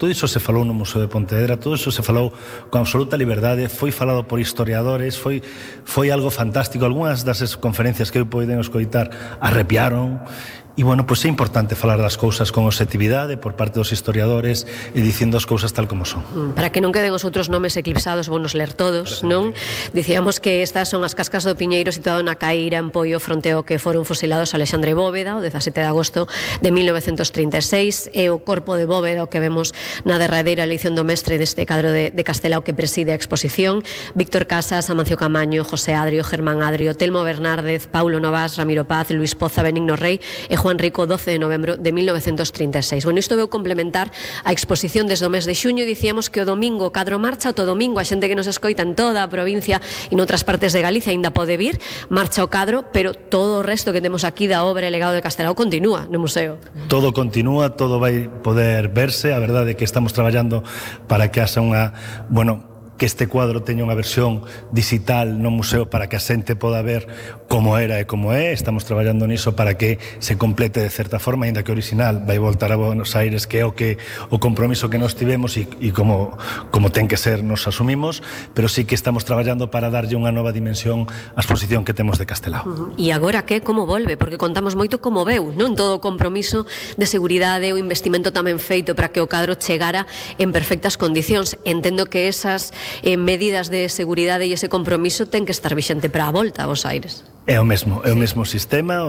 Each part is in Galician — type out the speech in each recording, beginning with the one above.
todo iso se falou no Museo de Pontevedra, todo iso se falou con absoluta liberdade, foi falado por historiadores, foi algo fantástico. Algúnas das conferencias que eu poden escoitar arrepiaron. E, bueno, pois é importante falar das cousas con objetividade por parte dos historiadores e dicindo as cousas tal como son. Para que non queden os outros nomes eclipsados, vou nos ler todos, non? Dicíamos que estas son as cascas do Piñeiro situado na Caíra en Poio fronte ao que foron fusilados Alexandre Bóveda o 17 de agosto de 1936 e o corpo de Bóveda o que vemos na derradeira eleición do mestre deste cadro de Castelao que preside a exposición. Víctor Casas, Amancio Camaño, José Adrio, Germán Adrio, Telmo Bernárdez, Paulo Novas, Ramiro Paz, Luis Poza, Benigno Rey e Juan Rico, 12 de novembro de 1936. Bueno, isto veu complementar a exposición desde o mes de xuño. Dicíamos que o domingo cadro marcha, o domingo a xente que nos escoita en toda a provincia e noutras partes de Galicia aínda pode vir, marcha o cadro, pero todo o resto que temos aquí da obra e legado de Castelao continúa no museo. Todo continúa, todo vai poder verse. A verdade é que estamos traballando para que haxa unha, que este cuadro teña unha versión digital no museo para que a xente poda ver como era e como é. Estamos traballando niso para que se complete de certa forma, aínda que o original vai voltar a Buenos Aires, que é o compromiso que nos tivemos e como ten que ser nos asumimos, pero sí que estamos traballando para darlle unha nova dimensión á exposición que temos de Castelao. E agora que, como volve? Porque contamos moito como veu, non? Todo o compromiso de seguridade, o investimento tamén feito para que o cadro chegara en perfectas condicións. Entendo que esas medidas de seguridade e ese compromiso ten que estar vixente para a volta a Bos Aires. É o mesmo sistema,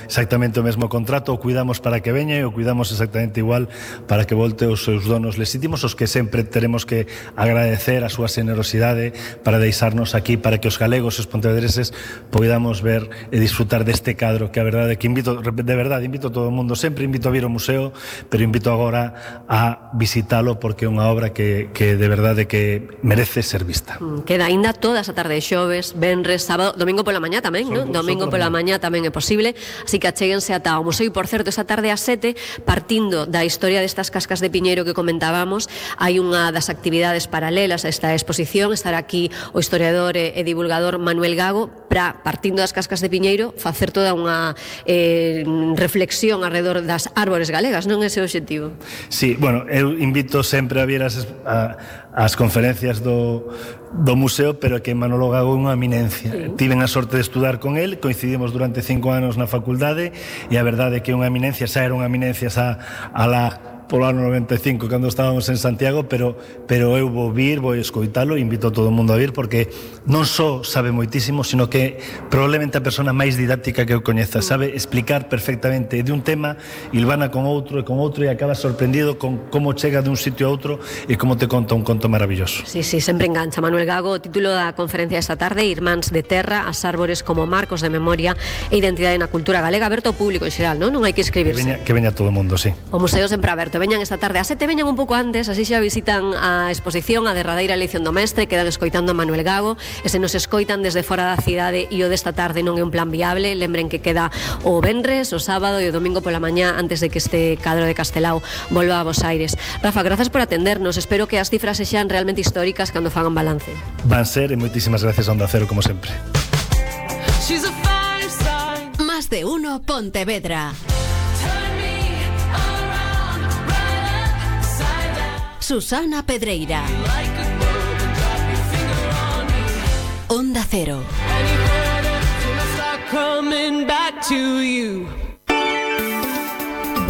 exactamente o mesmo contrato, o cuidamos para que veña e o cuidamos exactamente igual para que volte os seus donos legítimos, os que sempre teremos que agradecer a súa generosidade para deixarnos aquí, para que os galegos e os pontevedreses podamos ver e disfrutar deste cadro, que a verdade é que invito a todo o mundo, sempre invito a vir ao museo, pero invito agora a visitalo porque é unha obra que de verdade que merece ser vista. Queda aínda toda esa tarde de xoves, venres, sábado, domingo pola mañá tamén, non? Domingo pola mañá tamén é posible, así que achéguense ata o museo. E, por certo, esta tarde ás 7, partindo da historia destas cascas de Piñeiro que comentábamos, hai unha das actividades paralelas a esta exposición. Estará aquí o historiador e divulgador Manuel Gago para, partindo das cascas de Piñeiro, facer toda unha reflexión alrededor das árbores galegas, non é ese o obxectivo? Sí, bueno, eu invito sempre a vir as conferencias do museo, pero que Manolo Gago é unha eminencia. Sí. Tiven a sorte de estudar con el, coincidimos durante 5 anos na facultade e a verdade é que é unha eminencia, xa era unha eminencia polo ano 95 cando estábamos en Santiago, pero eu vou escoitalo, invito a todo o mundo a vir porque non só sabe moitísimo, sino que probablemente a persona máis didáctica que eu coñeza, sabe explicar perfectamente de un tema, ilvana con outro e acabas sorprendido con como chega de un sitio a outro e como te conta un conto maravilloso. Sí, sempre engancha. Manuel Gago, o título da conferencia esta tarde, Irmáns de Terra, as árbores como marcos de memoria e identidade na cultura galega, aberto ao público en xeral, non hai que inscribirse. Que veña todo o mundo, sí. O museo sempre aberto. Veñan esta tarde a 7, veñan un pouco antes, así xa visitan a exposición, a derradeira eleición do mestre, quedan escoitando a Manuel Gago, e se nos escoitan desde fora da cidade e o desta tarde non é un plan viable, lembren que queda o venres, o sábado e o domingo pola mañá antes de que este cadro de Castelao volva a Bos Aires. Rafa, grazas por atendernos, espero que as cifras sexan realmente históricas cando fagan balance. Van ser, e moitísimas gracias a Onda Cero, como sempre. Más de uno Pontevedra. Susana Pedreira. Onda Cero.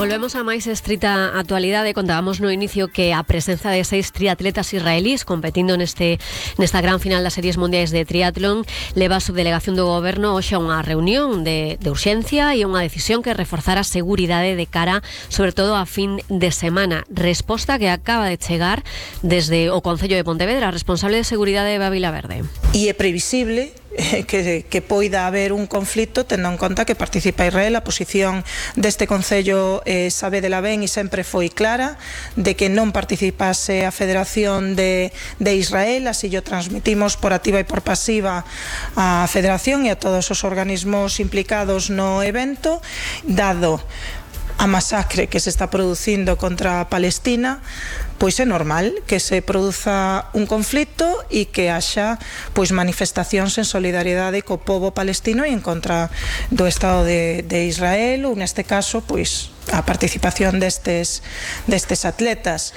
Volvemos a máis estrita actualidade. Contábamos no inicio que a presenza de 6 triatletas israelís competindo nesta gran final das series mundiais de triatlón leva a subdelegación do goberno hoxe a unha reunión de urxencia e unha decisión que reforzar a seguridade de cara, sobre todo a fin de semana. Resposta que acaba de chegar desde o Concello de Pontevedra, responsable de seguridade de Bávila Verde. E é previsible que poida haber un conflito tendo en conta que participa Israel. A posición deste Concello sabédela ben e sempre foi clara de que non participase a Federación de Israel, así lo transmitimos por activa e por pasiva á Federación e a todos os organismos implicados no evento, dado a masacre que se está producindo contra Palestina, pois é normal que se produza un conflito e que haxa pois manifestacións en solidariedade co pobo palestino e en contra do Estado de Israel, ou neste caso pois a participación destes atletas.